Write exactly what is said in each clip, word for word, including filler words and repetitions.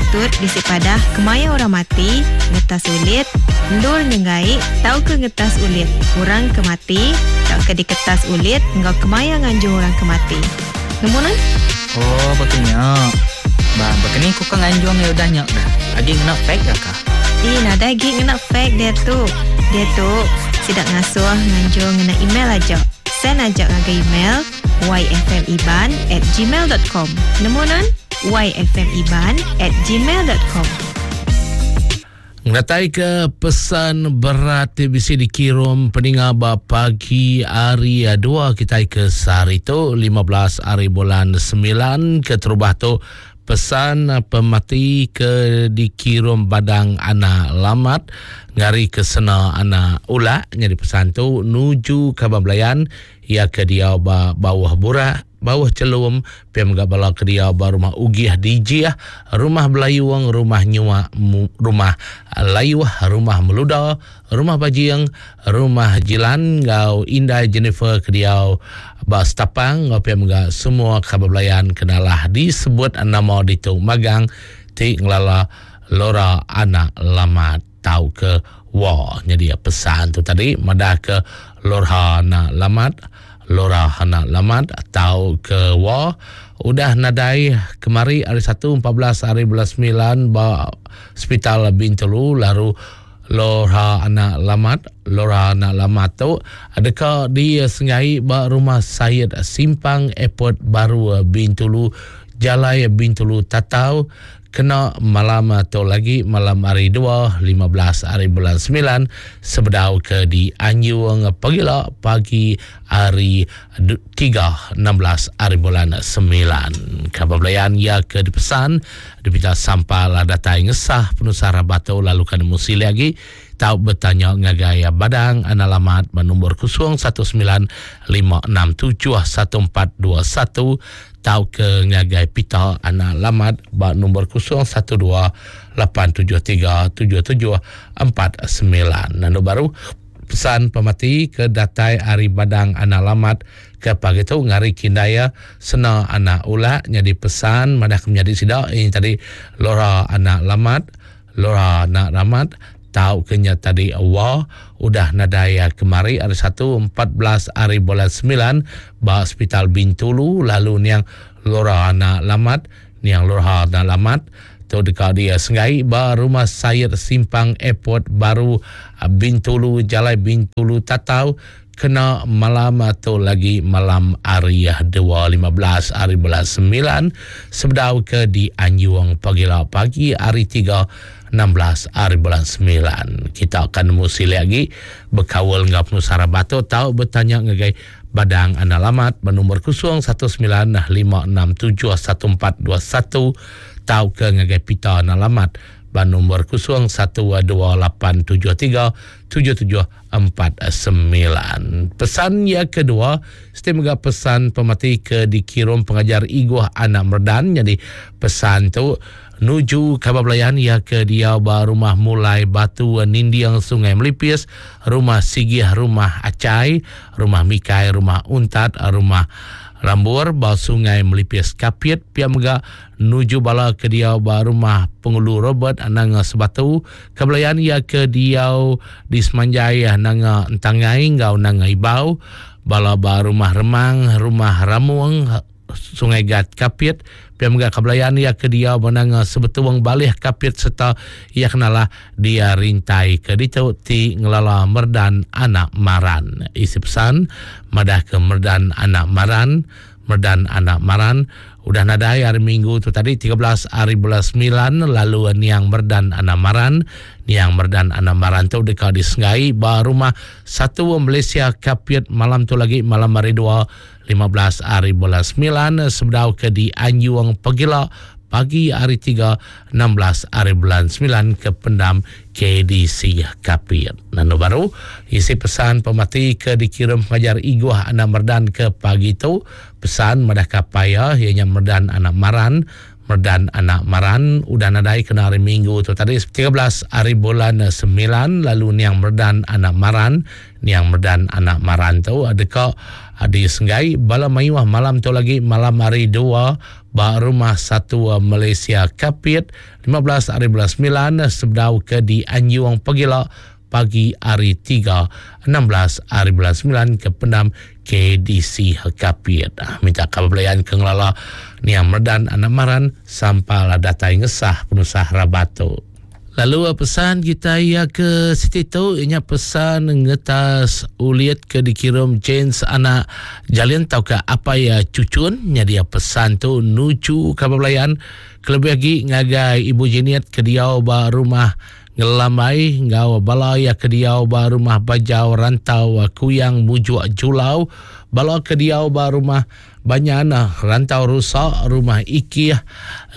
Patut bisi padah kemaya orang mati, ngetas ulit, endur nyenggai tauka ngetas ulit orang ke mati tauka diketas ulit enggau kemaya nganjung orang ke mati. Nemu nan? Oh, betulnya. Bah, begini ku kan nganjung ya udah nyak dah. Lagi ngena fake ya kah? Ih, nadai lagi ngena fake dia tu. Dia tu sidak ngasuh nganjung ngena email aja. Send aja ngagai email yfmiban at gmail dot com. Nemu nan? yfmiban at gmail dot com. Ngatai ke pesan berat bisi dikirim peninga ba pagi hari dua kita ke sehari tu lima belas hari bulan sembilan ke terubah tu pesan pemati ke dikirim badang anak lamat ngari ke sena anak ulak nyadi pesan tu nuju kaban belayan ia ke dia ba bawah burak bawah celum piam gak bala ke dia ba rumah Ugih Dijiah, rumah Belayung, rumah Nyuak, rumah Layuh, rumah Meluda, rumah Bajing, rumah Jilan ngau Indai Jennifer ke dia ba Setapang ngau piam gak semua kaban belayan kenalah disebut nama ditu magang ti ngelala Lora anak lamat tau ke wa. Jadi pesan tu tadi madah ke Lora anak lamat, Lora anak lamat tau ke wa udah nadai kemari hari satu empat belas hari bulan sembilan ba Hospital Bintulu lalu Lora anak lamat, Lora anak lamat tu adakah di Sengai ba rumah Syed Simpang Airport Baru Bintulu Jalai Bintulu Tatau kena malam atau lagi malam hari dua lima belas hari bulan sembilan sebedau ke di Anjung pagila pagi hari tiga enam belas hari bulan sembilan. Kabar belayan ia ke dipesan dipinta sampal datai ngesah penusah batu lalu kan musi lagi tau bertanya ngagai badang analamat nombor kosong satu sembilan lima enam tujuh satu empat dua satu tau ke ngagai pita analamat ba nombor kosong satu dua lapan tujuh tiga tujuh tujuh empat sembilan. Nando baru pesan pemati ke datai hari badang analamat ke pagi tu ngari kindaya sena anak ulak jadi pesan madah menjadi sidak ini tadi Lora anak lamat, Lora anak ramat tau kenya tadi wa udah nadai kemari hari satu empat belas hari bulan sembilan ba Hospital Bintulu lalu niang Lora anak lamat, niang Lora anak lamat tu dekat dia Sengai ba rumah Syed Simpang Airport Baru Bintulu Jalai Bintulu Tatau kena malam atau lagi malam hari dua lima belas hari bulan sembilan sebedau ke di Anjung pagila pagi hari tiga enam belas hari bulan sembilan. Kita akan nemu sili lagi berkawal ngau penusara batu tau bertanya ngagai badang analamat bernombor kosong satu sembilan lima enam tujuh satu empat dua satu tau ke ngagai pita analamat bernombor kosong satu dua lapan tujuh tiga tujuh tujuh empat sembilan. Pesan yang kedua, setiap mega pesan pemati ke dikirim pengajar Iguh Anak Merdan. Jadi pesan tu nuju kabar belayan ia ke dia ba rumah Mulai Batu Nindiang Sungai Melipis, rumah Sigih, rumah Acai, rumah Mikai, rumah Untat, rumah Rambur ba Sungai Melipis Kapit. Pia mega nuju bala ke dia ba rumah Pengulu Robert Nanga Sebatu. Kebelayan ia ke dia di Semanjai Nanga Entangai ngau Nanga Ibau. Bala ba rumah Remang, rumah Ramuang, Sungai Gat Kapit. Pia mega kebelayan ia ke dia benanga Sebetuang Balih Kapit serta ia kenalah dia rintai ke ditu ti ngelala Merdan Anak Maran. Isi pesan madah ke Merdan Anak Maran, Merdan Anak Maran udah nadai hari Minggu tu tadi tiga belas hari bulan sembilan lalu niang Merdan Anak Maran, niang Merdan Anak Maran tu dekat di Sengai ba rumah satu Malaysia Kapit malam tu lagi malam hari dua lima belas hari bulan sembilan sebedau ke di Anjung Pegila pagi hari tiga enam belas hari bulan sembilan ke pendam K D C Kapit. Nando baru isi pesan pemati ke dikirim pengajar Iguh Anak Merdan ke pagi tu pesan madah kapaya ianya Merdan Anak Maran, Merdan Anak Maran udah nadai kena hari Minggu tu tadi tiga belas hari bulan sembilan lalu niang Merdan Anak Maran, niang Merdan Anak Maran tu adakah di Senggai bala mayuah malam tu lagi malam hari dua ba Rumah Satu Malaysia Kapit lima belas hari bulan sembilan sebedau ke di Anjung Pegila pagi hari tiga enam belas hari bulan sembilan ke pendam K D C Kapit. Minta kabar belayan ke ngelala Niam Medan Anak Maran sampal datai ngesah penusah rabatu. Lalu pesan kita ya ke situ tu ianya pesan ngetas ulit ke dikirim James anak Jalin tau ke apa ya cucun nya dia pesan tu nuju kabar belayan kelebih lagi ngagai Ibu Jeniet ke diau ba rumah Ngelambai ngau bala ya ke diau ba rumah Bajau Rantau Kuyang Mujuk Julau, bala ke diau ba rumah Banyan Rantau Rusak rumah Ikih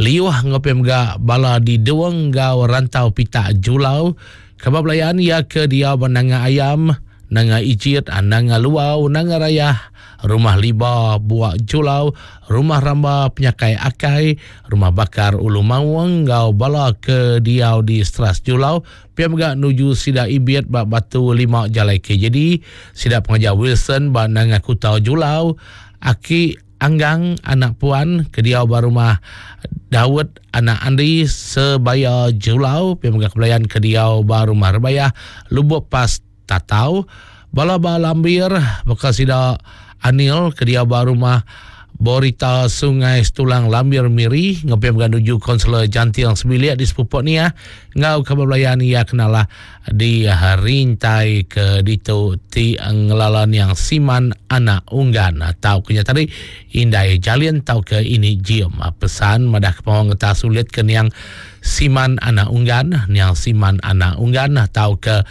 Liuh ngopi mega bala di Duang ngau Rantau Pitak Julau, kabar belayan ya ke diau ba Nanga Ayam, Nanga Ijit, Nanga Luau, Nanga Rayah, Rumah Liba Buak Julau, Rumah Ramba Penyakai Akai, Rumah Bakar Ulu Mawang ngau bala ke diau di Stras Julau, pia mega nuju sida Ibiat ba Batu Lima Jalai K J D, sida pengajar Wilson ba Nanga Kutau Julau, Aki Anggang anak puan ke diau ba rumah Daud anak Andi Sebaya Julau, pia mega kebelayan ke diau ba rumah Rebayah Lubuk Pas Tatau, bala ba Lambir bekas sida Anil ke diau ba rumah Borita Sungai Setulang Lambir Miri, ngopi mega nuju konselor Jantiang Sebilik di Sepupok ni ya, ngau kabar belayan ia kenalah di rintai ke ditu ti ngelalan yang Siman anak Unggan atau kenya tadi Indai Jalin tau ke ini Jim pesan madah ke pawang ngetas sulit ke niang Siman anak Unggan, niang Siman anak Unggan atau ke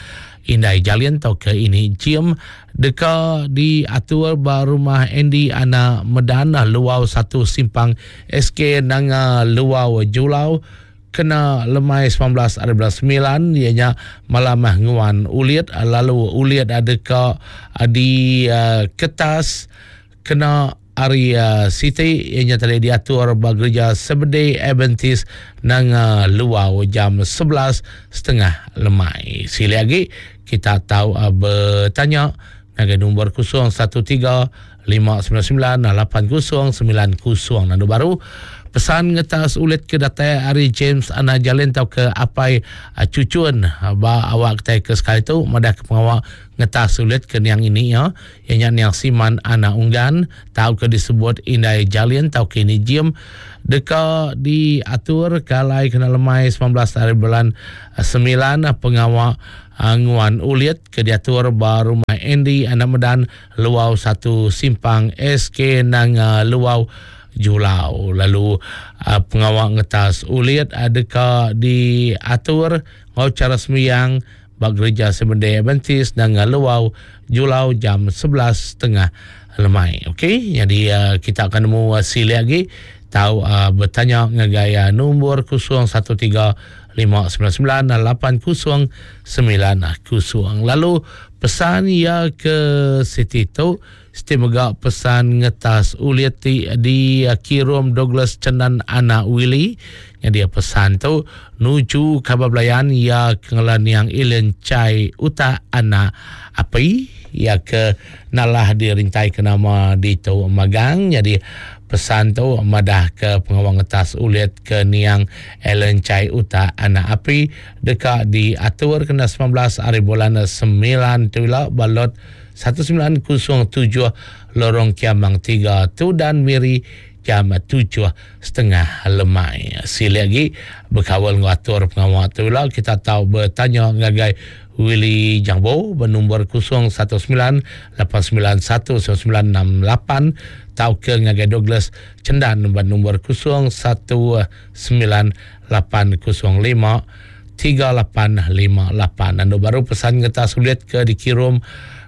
Indai Jalin tau ke ini Jim deka diatur ba rumah Andy anak Medan Luau satu Simpang S K Nanga Luau Julau kena lemai sembilan belas hari bulan sembilan ianya malam nguan ulit lalu ulit ada ke di uh, kertas kena hari uh, Siti ianya telah diatur ba gereja Seventh-day Adventist Nanga Luau jam sebelas setengah lemai. Sila lagi kita tahu uh, bertanya ngagai nombor kosong satu tiga lima sembilan sembilan lapan kosong sembilan kosong. Nandu baru pesan ngetas ulit ke datai hari James Ana Jalin tau ke apai uh, cucun ba awak kita ke sekali tu madah ke pengawak ngetas ulit ke niang ini ya ianya niang Siman Ana Unggan tau ke disebut Indai Jalin tau ke ini Jim deka diatur kalai kena lemai sembilan belas hari bulan sembilan pengawak nguan ulit ke diatur ba rumah Andy Anak Medan Luau satu Simpang S K Nanga Luau Julau. Lalu uh, pengawak ngetas ulit adakah diatur ngau cara sembiang ba gereja Seventh-day Adventist Nanga Luau Julau jam sebelas setengah lemai. Okey, jadi uh, kita akan nemu uh, sila lagi tahu uh, bertanya ngagai uh, nombor kosong satu tiga lima sembilan sembilan lapan kosong sembilan kosong. Lalu pesan ya ke Siti tu Siti mega pesan ngetas ulit ti di kirum Douglas Cenan anak Willy. Yang dia pesan tu nuju kabar belayan ya kengelan yang Ilen Chai Uta anak api ya ke nalah dirintai ke nama di tu magang. Jadi pesan tu madah ke pengawang ngetas ulit ke niang Ellen Chai Uta anak api dekat diatur kena sembilan belas hari bulan sembilan tu lah balot satu sembilan kosong tujuh Lorong Kiamang tiga Tudan Miri jam tujuh setengah lemai. Sila lagi berkawal ngatur pengawal tu lah kita tahu bertanya ngagai Willy Jangbo bernombor kosong satu sembilan lapan sembilan satu sembilan enam lapan tau ke ngagai Douglas Cendan bernombor kosong satu sembilan lapan kosong lima tiga lapan lima lapan. Ando baru pesan ngetas sulit ke dikirim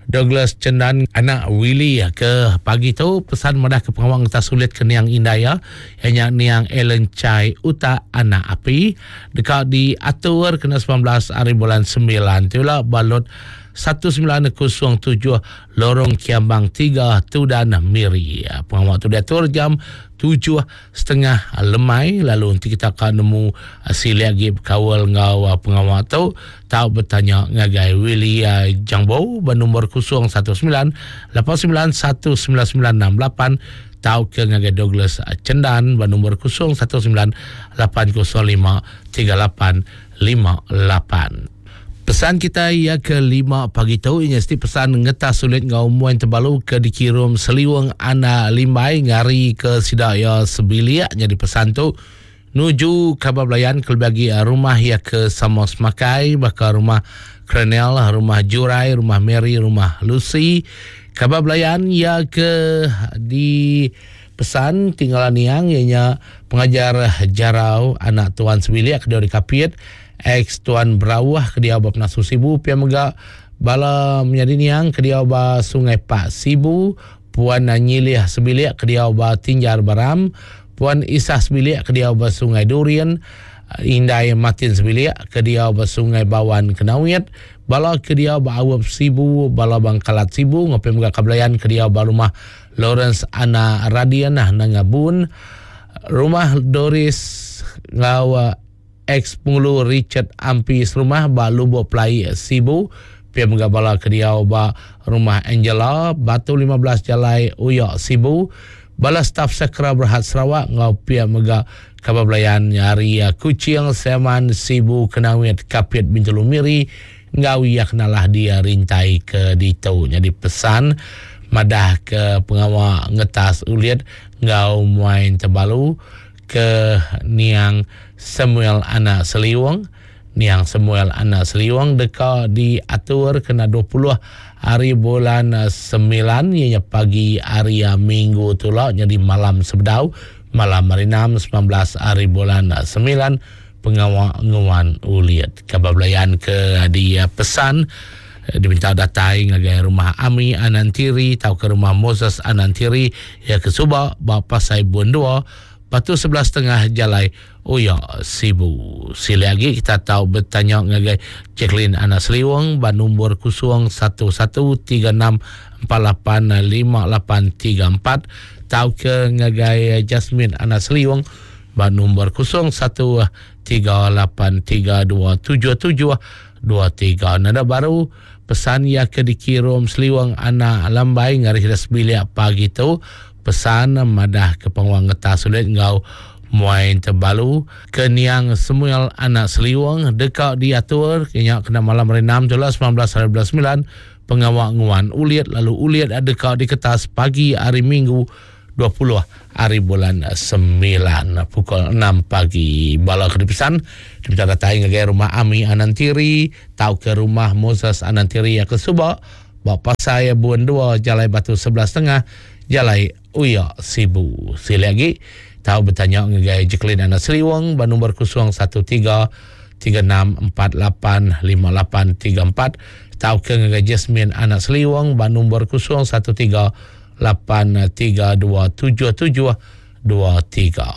Douglas Cendan anak Willy ke pagi tu pesan madah ke pengawang ngetas sulit ke niang Indaya ianya niang Ellen Chai Uta anak api dekat diatur kena sembilan belas hari bulan sembilan tu lah balot satu sembilan kosong tujuh Lorong Kiambang tiga Tudan Miri. Pengawal tu diatur jam tujuh setengah lemai. Lalu nanti kita akan nemu sila lagi berkawal ngau pengawal tu tahu bertanya ngagai Willy Jangbo bernombor kosong satu sembilan lapan sembilan satu sembilan sembilan enam lapan tau ke ngagai Douglas Cendan ba nombor kosong satu sembilan lapan kosong lima tiga lapan lima lapan. Pesan kita ia ke lima pagi tu ini mesti pesan ngetas sulit ngau muan tebalu ke dikirum seliwang ana limbai ngari ke sida ya sebiliak jadi pesan tu nuju kabar belayan ke bagi rumah ya ke Samos Makai bakal rumah Krenel, rumah Jurai, rumah Mary, rumah Lucy. Kabar belayan ya ke di pesan tinggalan niang ianya pengajar Jarau anak tuan sebiliak ke dari Kapit ex tuan Berawah ke dia ba Penasu Sibu pia mega bala menyadi niang ke dia ba Sungai Pak Sibu puan Nyilih sebiliak ke dia ba Tinjar Baram puan Isah sebiliak ke dia ba Sungai Durian Indai Martin sebiliak ke dia ba Sungai Bawan Kenawit bala ke dia ba Awap Sibu bala Bangkalat Sibu ngopi mega kabelayan ke dia ba rumah Lawrence Ana Radian Nangabun rumah Doris ngau ex pengulu Richard Ampi serumah ba Lubuk Pelai Sibu pia mega bala ke dia ba rumah Angela Batu lima belas Jalai Uyak Sibu bala staf Sakra Berhad Sarawak ngau pia mega kabar belayan nyari Kuching Seman Sibu Kenawit Kapit Bintulu Miri ngau ia kenalah dia rintai ke ditu jadi pesan madah ke pengawal ngetas ulit ngau muain tebalu ke niang Samuel anak Seliwang niang Samuel anak Seliwang deka diatur kena dua puluh hari bulan sembilan ianya pagi hari Minggu tu lah jadi malam sebedau malam hari enam sembilan belas hari bulan sembilan pengawal nguan uliat kabar belayan ke dia pesan diminta datai ngagai rumah Ami Anantiri atau ke rumah Moses Anantiri ya ke Suba ba Pasai Bun dua Batu sebelas setengah Jalai Uya Sibu. Sila lagi kita tahu bertanya ngagai Jacqueline Anak Seliwang ba nombor kosong satu satu tiga enam empat lapan lima lapan tiga empat tau ke ngagai Jasmine Anak Seliwang ba nombor kosong satu tiga lapan tiga dua tujuh tujuh dua tiga. Nada baru pesan ya ke dikirim Seliwang Anak Lambai ngari kita sebiliak pagi tu pesan madah ke penguang ngetas sulit ngau muain tebalu ke niang Samuel Anak Seliwang dekat diatur kena kena malam hari enam jelas sembilan belas hari bulan sembilan pengawal nguan uliat lalu uliat dekat di kertas pagi hari Minggu dua puluh hari bulan sembilan pukul enam pagi. Bala kedipisan diminta datang ke rumah Ami Anantiri tau ke rumah Moses Anantiri yang ke Subak bak Pasai Buan dua Jalai Batu sebelas setengah Jalai Uya Sibu. Sila lagi tahu bertanya ngagai Jacqueline Anak Seliwang ba nombor kosong satu tiga tiga enam empat lapan lima lapan tiga empat tahu ke ngagai Jasmine Anak Seliwang ba nombor kosong satu tiga lapan tiga dua tujuh tujuh dua tiga.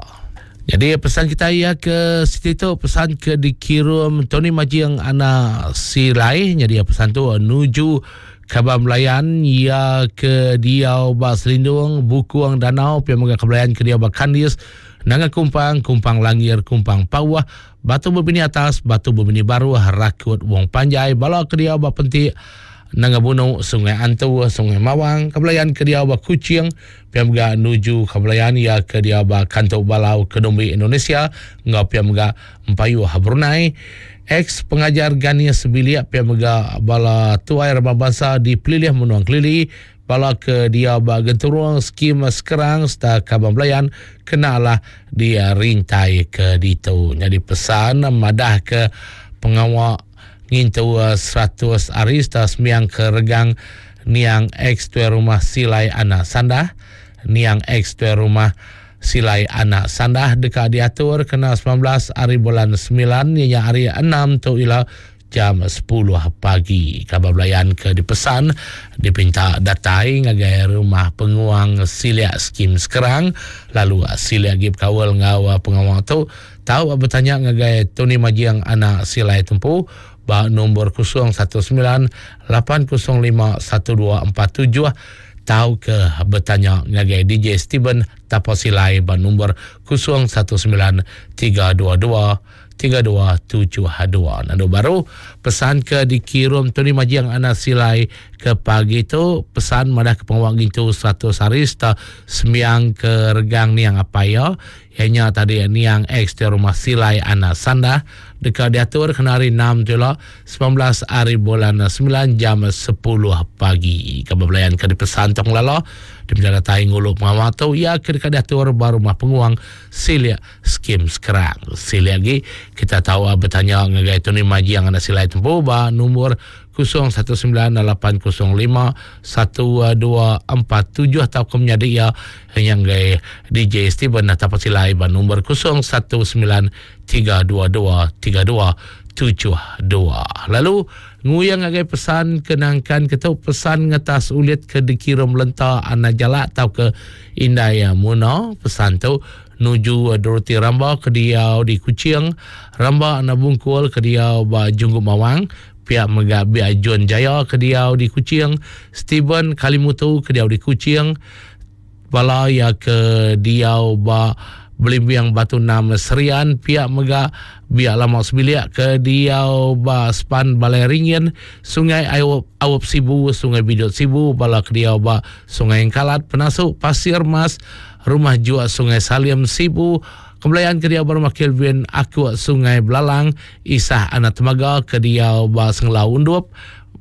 Jadi pesan kita ya ke situ tu pesan ke dikirim Tony Majing Anak Silai. Jadi pesan tu nuju kabar melayan ya ke diau ba Selindung Bukuang Danau pia mega kebelayan ke diau ba Kandis Nanga Kumpang Kumpang Langir Kumpang Pawah Batu Berbini Atas Batu Berbini Baru Rakut Wong Panjai bala ke diau ba Pentik Nanga Buno Sungai Antu Sungai Mawang kebelayan ke diau ba Kuching pia mega nuju kebelayan ya ke diau ba Kantuk Balau Kedombi Indonesia ngau pia mega Empayuh Brunei ex pengajar Gania Sebiliak pia mega bala tuai ramah bangsa di Pelilih Menuang Kelili bala ke dia ba Genturung skim Sekerang serta Kabang Belayan kenalah dia rintai ke ditu. Jadi pesan madah ke pengawal ngintu seratus hari serta semiang ke regang niang ex tuai rumah Silai Anak Sandah niang ex tuai rumah Silai Anak Sandah dekat diatur kena sembilan belas hari bulan sembilan ianya hari enam tu ila jam sepuluh pagi. Kabar belayan ke dipesan dipinta datai ngagai rumah penguang Siliak Skim Sekerang lalu Siliak Gib Kawal ngau pengawang tu tahu bertanya ngagai Tony Majiang Anak Silai Tempu ba nombor kosong satu sembilan lapan kosong lima satu dua empat tujuh tahu ke bertanya ngagai D J Steven Tapasilai ba nombor kosong satu sembilan tiga dua dua tiga dua tujuh dua. Nandu baru pesan ke dikirim Tony Majing anak Silai ke pagi tu pesan madah ke pengawang gitu seratus hari serta sembiang ke regang niang apa ya ianya tadi niang ex di rumah Silai anak Sandah dekat diatur kena hari enam tu lah sembilan belas hari bulan sembilan jam sepuluh pagi. Kebelayan ke dipesan tong lala di menjadi tai ngulu pengawal tu ia ke dekat diatur baru rumah penguang Silia Skim Sekarang. Silia lagi kita tahu bertanya ngagai Tony Majing anak Silai tempu ba nombor kosong satu sembilan lapan kosong lima satu dua empat tujuh atau ke menjadi ia yang gai D J Steven atau Silai ba nombor kosong satu sembilan tiga dua dua tiga dua tujuh dua. Lalu nguyang ngagai pesan kenangkan ketu pesan ngetas ulit ke dikirim lenta anak jalak atau ke Indai Muna pesan tu nuju Dorothy Ramba ke diau di Kuching, Ramba anak Bungkul ke diau ba Junggu Mawang, pihak mega Biak Jun Jaya ke diau di Kuching, Steven Kalimutu ke diau di Kuching, bala ya ke diau ba Belimbiang Batu Enam Serian, pihak mega Biak Lama Sebiliak ke diau ba Span Balai Ringin, Sungai Awop, Awop Sibu, Sungai Bidut Sibu, bala ke diau ba Sungai Engkalat, Penasuk Pasir Mas, Rumah Juak Sungai Salim Sibu, Kembelayan ke diau ba Rumah Kelvin Aku Sungai Belalang, Isah Anak Temaga ke diau ba Senglau Undup,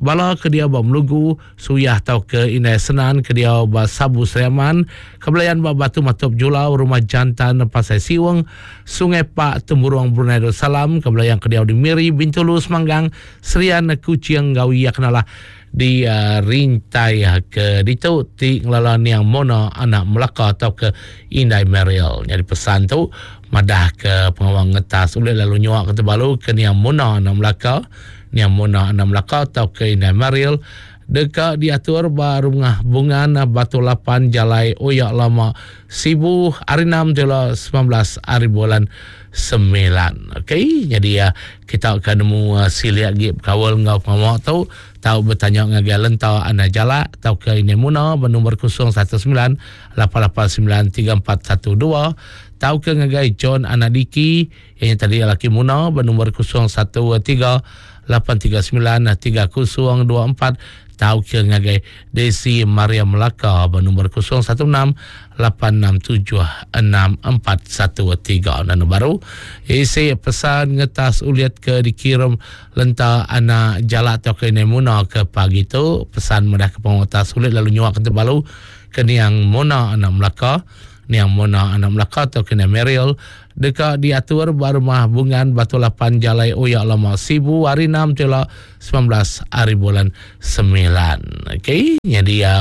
bala ke diau ba Melugu, Suyah tau ke Inai Senan ke diau ba Sabu Seriaman, Kembelayan ba Batu Matup Julau, Rumah Jantan Pasai Siweng, Sungai Pak Temburong Brunei Darussalam, Kembelayan ke diau di Miri, Bintulu Semanggang, Serian Kuching Gawi kenalah di uh, rintai ke ditu ti ngelala niang Mona anak Melaka atau ke Indai Mariel. Jadi pesan tu madah ke pengawang ngetas oleh lalu nyuak ke terbalu ke niang Mona anak Melaka, niang Mona anak Melaka atau ke Indai Mariel dekat diatur ba rumah Bungan Batu Lapan Jalai Oyak Lama Sibu hari enam jela sembilan belas hari bulan sembilan. Okey, jadi ya kita akan nemu uh, siliak gi kawal ngau pengawal tu tahu bertanya ngagai lenta anak jalak atau ke ini Muna bernombor kosong satu sembilan lapan lapan sembilan tiga empat satu dua tahu ke ngagai John anak Diki yang tadi laki Muna bernombor kosong satu tiga lapan tiga sembilan tiga kosong dua empat tahu ke ngagai Desi Maria Melaka bernombor kosong satu enam lapan enam tujuh enam empat satu tiga. Dan baru isi pesan ngetas uliat ke dikirim lenta anak jalak atau ke Muna ke pagi tu pesan mudah ke pengutas ulit lalu nyuak ke terbalu ke niang Mona anak Melaka, niang Mona anak Melaka atau ke niang Mariel dekat diatur rumah Bungan Batu Lapan Jalai Oyak Lama Sibu hari enam tela sembilan belas hari bulan sembilan. Okey, jadi ya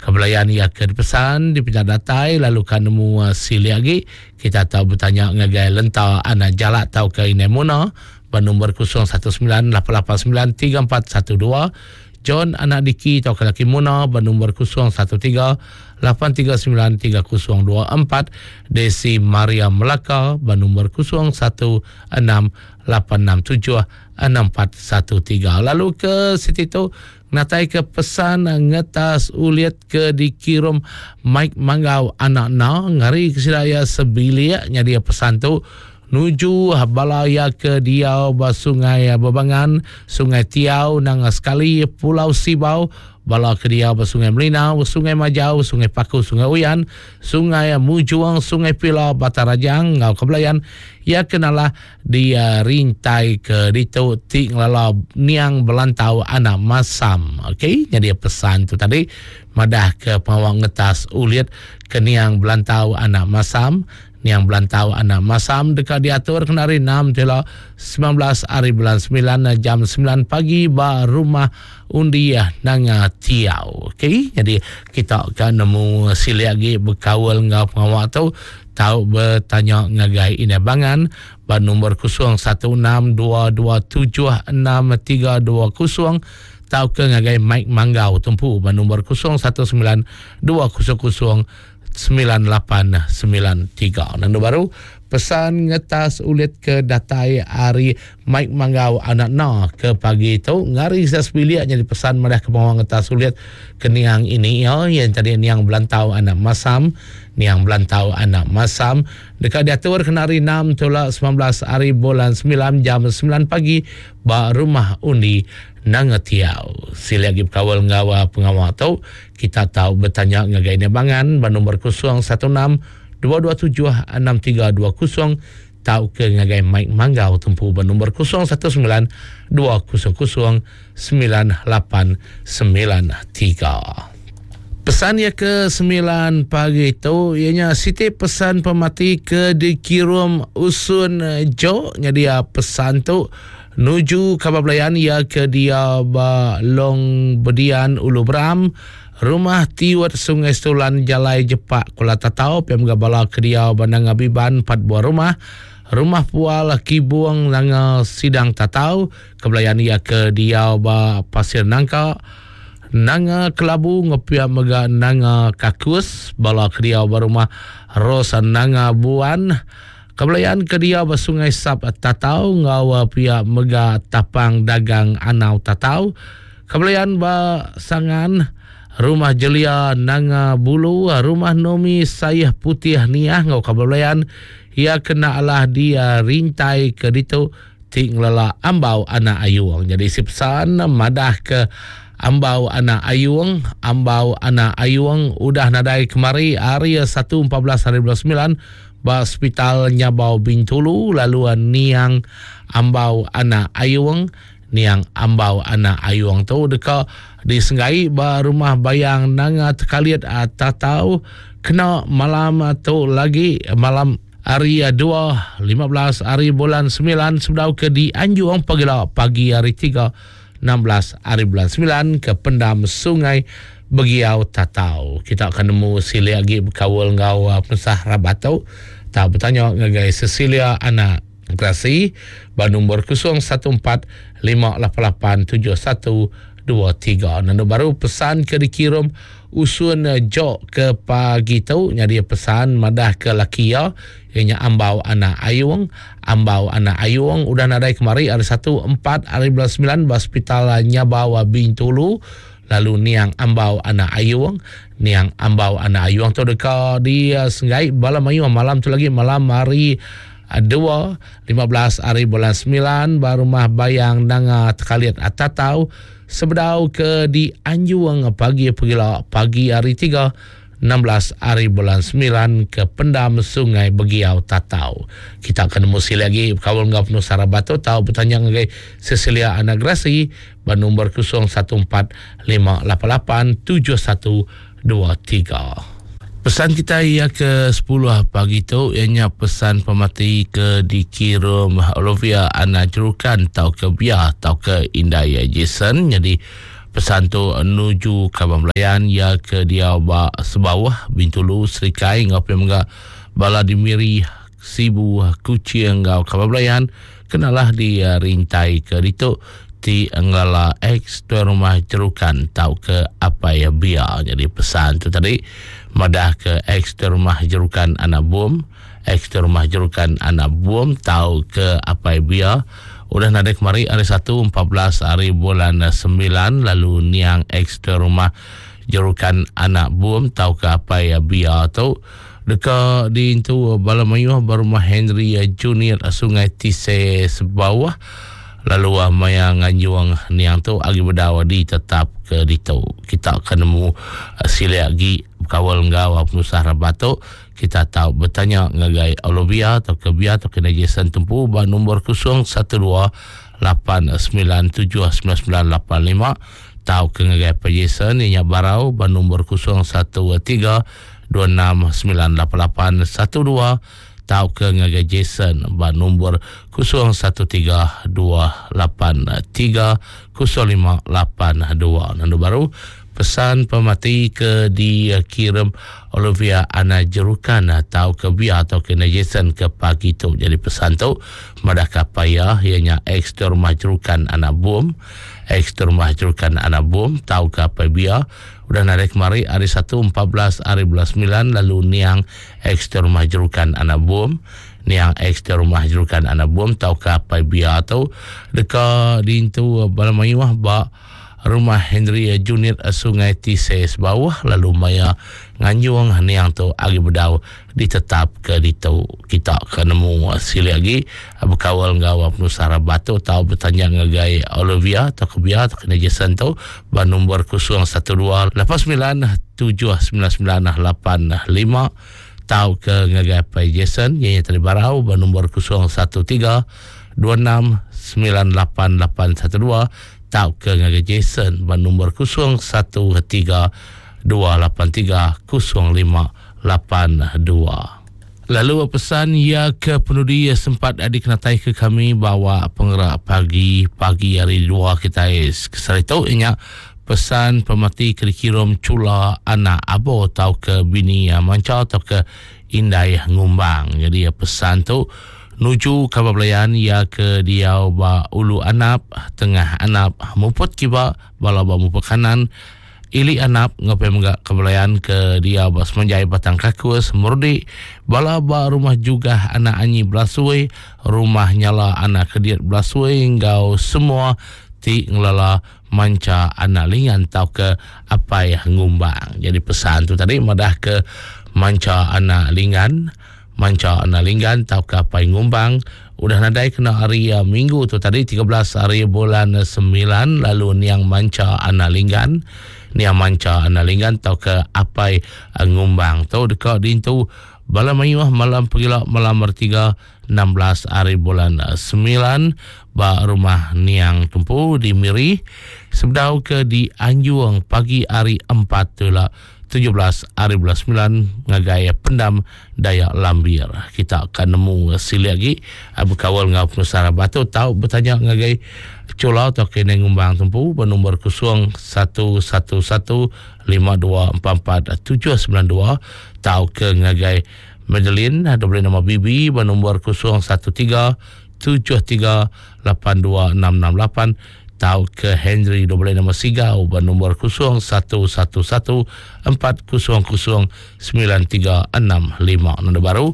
kebelayan ia ke pesan di pindah datai lalu kan nemu uh, sili lagi kita tahu bertanya ngagai lenta anak jalak tau ke ini Muna bernombor kosong satu sembilan lapan lapan sembilan tiga empat satu dua John anak Diki tau ke laki Muna bernombor kosong satu tiga lapan tiga sembilan tiga kosong dua empat Desi Maria Melaka bernombor kosong satu enam lapan enam tujuh enam empat satu tiga. Lalu ke situ tu natai ke pesan ngetas uliat ke dikirim Mike Manggau anak na ngari ke sidaya sebilik nya dia pesan tu nuju balaya ke diau ba Sungai Bebangan, Sungai Tiau, Nanga Sekali, Pulau Sibau, bala ke diau ba Sungai Melinau, Sungai Majau, Sungai Paku, Sungai Uyan, Sungai Mujuang, Sungai Pila, Batarajang, Ngau Kebelayan, ia kenalah dia rintai ke ditu ti ngelala niang belantau anak masam. Okey, jadi pesan tu tadi madah ke pengawang ngetas ulit ke niang belantau anak masam. Niang belantau anak masam dekat diatur kena hari enam tela sembilan belas hari bulan sembilan jam sembilan pagi ba rumah Undiah Nanga Tiau. Okey, jadi kita akan nemu sili lagi berkawal ngau pengawal tu tahu bertanya ngagai ina bangan ba nombor kosong satu enam dua dua tujuh enam tiga dua kosong tahu ke ngagai Mike Manggau tumpu ba nombor kosong satu sembilan dua kosong kosong sembilan lapan sembilan tiga. Dan baru Pesan ngetas ulit ke datai hari Mike Manggau anak na ke pagi tu ngari saya sebilik jadi pesan madah ke bawang ngetas ulit ke niang ini ya yang tadi niang Belantau anak Masam niang Belantau anak Masam dekat diatur kena hari enam tolak sembilan belas hari bulan sembilan jam sembilan pagi ba rumah undi Nangetiau. Sila lagi berkawal ngawa pengawal tu kita tahu bertanya ngagai ni bangan ba nombor kosong satu enam dua dua tujuh enam tiga dua kosong tau ke ngagai Mike Manggau tempu ba nombor kosong satu sembilan dua kosong kosong sembilan lapan sembilan tiga. Pesan ia ke sembilan pagi itu ianya siti pesan pemati ke dikirim usun jo nya dia pesan tu nuju khabar belayan ia ke dia ba Long Bedian Ulu Beram Rumah Tiwat Sungai Stulan Jalai Jepak Kuala Tatau P M Gabala ke dia Bandang Abiban empat buah rumah Rumah Pual Kibung Nanga Sidang Tatau kebelayan ia ke dia ba Pasir Nangka Nanga Kelabu ngepia mega Nanga Kakus bala ke dia ba rumah Rosa Nanga Buan kebelayan ke dia ba Sungai Sap Tatau ngau pia mega Tapang Dagang Anau Tatau kebelayan ba Sangan Rumah Jelia Nanga Bulu Rumah Nomi Sayah Putih Niah ngau kebelayan ia kena alah dia rintai ke ditu ti ngelela Ambau anak Ayung. Jadi si pesan madah ke Ambau anak Ayung, Ambau anak Ayung udah nadai kemari hari satu empat belas hari bulan sembilan ba hospital Nyabau Bintulu lalu niang Ambau anak Ayung niang Ambau anak Ayung tu deka disenggai ba rumah Bayang Nanga Tekalit Tatau kena malam tu lagi malam hari dua lima belas hari bulan sembilan sebedau ke dianjung pagila pagi hari tiga enam belas hari bulan sembilan ke pendam Sungai Begiau Tatau. Kita akan nemu sili lagi berkawal ngau pensah rabat tu. Tak bertanya ngagai Cecilia anak Grasi ba nombor kosong satu empat lima lapan lapan tujuh satu dua tiga. Nando baru pesan ke dikirim usun jok ke pagi tu nyadi pesan madah ke laki ya ianya Ambau anak Ayung Ambau anak Ayung udah nadai kemari hari satu empat hari bulan sembilan ba hospital Nyabau Bintulu lalu niang Ambau anak Ayung niang Ambau anak Ayung tu deka di senggai bala mayu malam tu lagi malam hari dua lima belas hari bulan sembilan ba rumah Bayang Nanga Tekalit Tatau sebedau ke di Anjuang pagi pegila pagi hari tiga enam belas hari bulan sembilan ke pendam Sungai Begiau Tatau. Kita akan nemu sili lagi kawal ngau penuh sarabato tahu bertanya ngagai Cecilia Anagrasi ba nombor kosong satu empat lima lapan lapan tujuh satu dua tiga. Pesan kita ia ke sepuluh pagi tu ianya pesan pemati ke dikirim Olivia anak Jerukan tau ke Bia tau ke Indaya Jason. Jadi pesan tu nuju Kabang Belayan ia ke dia ba Sebawah Bintulu Serikai ngau pe menga bala di Miri Sibu Kuching ngau Kabang Belayan kenalah di rintai ke ditu ti ngelala ex tuan rumah Jerukan tau ke apa ya Bia. Jadi pesan tu tadi madah ke ex tuan rumah Jerukan anak bom ex tuan rumah Jerukan anak bom tau ke apa ya Bia udah nadai kemari hari satu empat belas hari bulan sembilan lalu niang ex tuan rumah Jerukan anak bom tau ke apa ya Bia tu deka diintu bala mayuh berumah Henry Junior Sungai Tise Sebawah lalu maya nganjuang niang tu agi berdawa di tetap ke ditu. Kita akan nemu sili lagi kawal ngau penusah rabato kita tahu bertanya ngagai Olivia atau ke Bia atau ke Jason tempu ba nombor kosong satu dua lapan sembilan tujuh sembilan sembilan lapan lima tahu ke ngagai Pak Jason inya barau ba nombor kosong satu tiga dua enam sembilan lapan lapan satu dua tahu ke ngagai Jason ba nombor kosong satu tiga dua lapan tiga kosong lima lapan dua. Nando baru pesan pemati ke dikirim Olivia anak Jerukan atau ke Bia atau ke Jason ke pagi tu. Jadi pesan tu madah kapaya ianya ex rumah Jerukan anak bom ex rumah Jerukan anak bom tahu ke apa Bia udah narik kemari hari satu empat belas hari bulan sembilan lalu niang ex rumah Jerukan anak bom Niang ex di rumah Jerukan Anak Bum tau ke apai bia tu deka diintu bala mayuh ba rumah Henry Junit Sungai Tisei Sebauh lalu maya nganjung niang tu agi bedau ditetap ke ditu. Kita ke nemu silik agi bekawal enggau penusah rabat tu tau bertanya ngagai Olivia atau ke Bia atau ke Jason tu ba nombor kosong satu dua lapan sembilan tujuh sembilan sembilan lapan lima tau ke ngagai Pai Jason yang tadi barau ba nombor kosong satu tiga dua enam sembilan lapan lapan satu dua tau ke ngagai Jason ba nombor kosong satu tiga dua lapan tiga kosong lima lapan dua. Lalu pesan ia ke penudi sempat dikenatai ke kami bawa pengerak pagi-pagi hari dua kita kesari tu inya pesan pemati ke dikirim cula anak abo atau ke bini manca atau ke indai ngumbang. Jadi pesan tu nuju kabar belayan ia ke diau ba ulu anap, tengah anap, muput kiba, bala ba muput kanan, ili anap ngapai mega kebelayan ke dia ba semenjai Batang Kakus Murdi, bala ba rumah juga anak anyi belasui, rumah nyala anak kediat belasui enggau semua ti ngelala manca anak lingan tau ke apai ngumbang. Jadi pesan tu tadi madah ke manca anak lingan, manca anak linggan tau ke apai ngumbang udah nadai kena hari uh, minggu tu tadi tiga belas hari bulan sembilan lalu niang manca anak linggan, niang manca anak linggan tau ke apai uh, ngumbang tu dekat dintu bala mayuh malam pegila malam bertiga enam belas hari bulan sembilan ba rumah niang tumpu di Miri sebedau ke di Anjuang pagi hari empat tu lah tujuh belas hari bulan sembilan ngagai pendam Dayak Lambir. Kita akan nemu silik lagi berkawal ngau penusah batu tau bertanya ngagai Cola atau kena ngumbang tumpu bernombor kosong satu satu satu lima dua empat empat tujuh sembilan dua tau ke ngagai Madeline ada boleh nama Bibi bernombor kosong satu tiga tujuh tiga lapan dua enam enam lapan tau ke Henry dua boleh nama Sigau bernombor kosong satu satu satu empat kosong kosong sembilan tiga enam lima. Nombor baru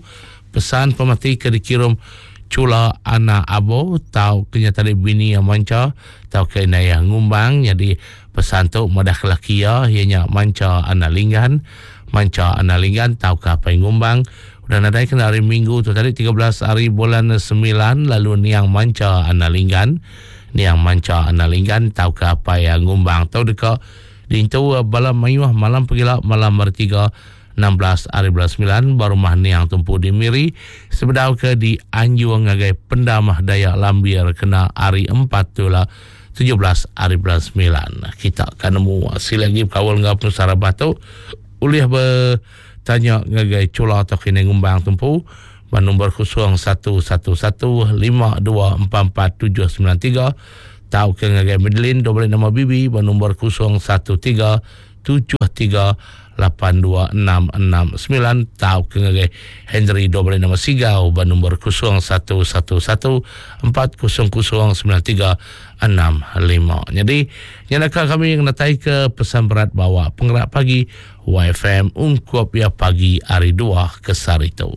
pesan pemati ke dikirim cula anak abo tau kenya tadi bini yang manca tau ke inayah ngumbang. Jadi pesan tu madah kelaki ya ianya manca anak linggan, manca anak linggan tau ke apa yang ngumbang udah nadai kena hari minggu tu tadi tiga belas hari bulan sembilan lalu niang manca anak linggan, niang manca anak linggan tau ke apa yang ngumbang tau deka dintu bala mayuh malam pegila malam bertiga enam belas hari bulan sembilan baru rumah niang tumpu di Miri sebedau ke di Anjuang ngagai pendamah Dayak Lambir kena hari empat tu lah tujuh belas hari bulan sembilan. Kita akan nemu hasil lagi kawal ngau penusah batu ulih bertanya ngagai cula atau kena ngumbang tumpu nombor kosong satu satu satu lima dua empat empat tujuh sembilan tiga tau ke ngagai Madeline dua boleh nama Bibi nombor kosong satu tiga tujuh tiga lapan dua enam enam sembilan tau ke ngagai Henry dua boleh nama Sigau nombor kosong satu satu satu empat kosong kosong sembilan tiga enam lima. Jadi nyalaka kami yang natai ke pesan berat bawa penggerak pagi Y F M ungkup ya pagi hari dua kesar itu.